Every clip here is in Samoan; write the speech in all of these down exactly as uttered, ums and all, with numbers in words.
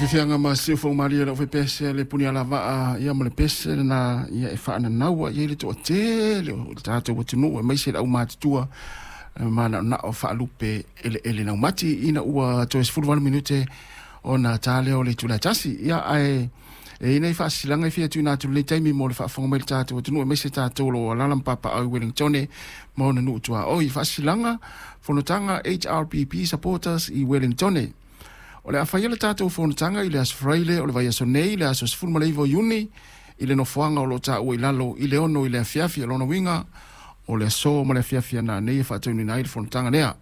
Fianga ma siu malia lau pese le puni ala vaa ia ma le pese na ia e whaananaua ia le toa tele o le tātou atunuu e maise le au matutua ma na na o whaalupe ele ele nau mati ina ua toe sefulu valu minute ona tā leo le tula tasi ia ae e ina i whaasilanga i fia tuna atu le taimi mo le whaafonga mai le tātou atunuu e maise tātou lo alala mpapa au Wellingtone ma ona nuu tua oi whaasilanga fonotanga H R P P supporters i Wellingtone. O le awhaia le tātou fonotanga i le aso Fraile o le vaiaso nei, le aso sefulu ma le iva o Iuni, i le nofoanga o lo tāua i lalo i le ono i le afiafi a lona winga, o le aso ma le afiafi ana nei e whaataunina ai le fonotanga nea.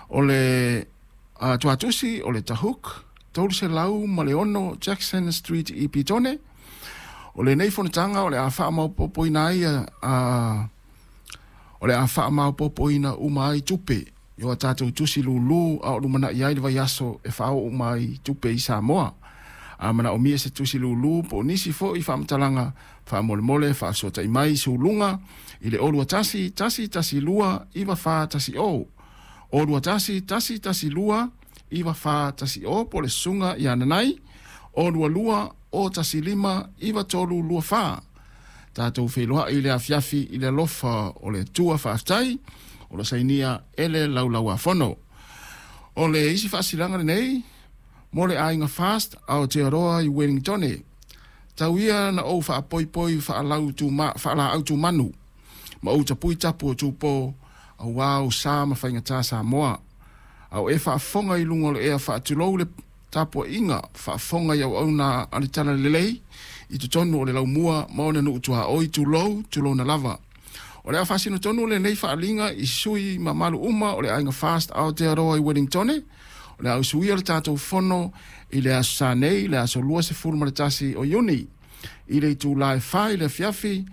O le uh, tuatusi o le Tahuk, tolu selau ma le ono Jackson Street i Pitone. O le nei fonotanga o le a whaamaupopoina ai, uh, o le a whaamaupopoina uma ai tupe. Yo a tātou tusi lulu a o lumana i ai le vaiaso e whao mai tupe i Samoa. A mana o mia se tusi lulu po nisi fo i whaamatalanga whaamolemole whaasota i mai sulunga i le olua tasi tasi tasi lua iwa wha tasi o. Olua tasi tasi tasi lua iwa wha tasi o po le sunga i ananai. Olua lua o tasi lima iwa tolu lua wha. Tātou wheloa i le afiafi i le lofa o le tua whaaftai. O le sainia ele laulaua fono. O le isi whaasilanga nei, mo le ainga fast ao Aotearoa i Wellingtone. Tau ia na ou whaapoipoi whaalau tu ma, whaala au tu manu. Ma ou tapui tapu o tūpō, au wau sa ma whaingata Samoa. Au e whaafonga i lunga o le ea whaatulou le tapua inga, whaafonga i au au nā alitana lelei, i tutonu o le laumua ma ona nuu tuha oi tulou, tulou na lava. O le awhasino tonu le nei whaalinga i sui mamalu uma o le ainga fast Aotearoa i Wellingtone. O le au suia le tātou fono i le aso sa nei, le aso lua se fulu ma le tasi o Iuni. I le itū lae whai le fiafi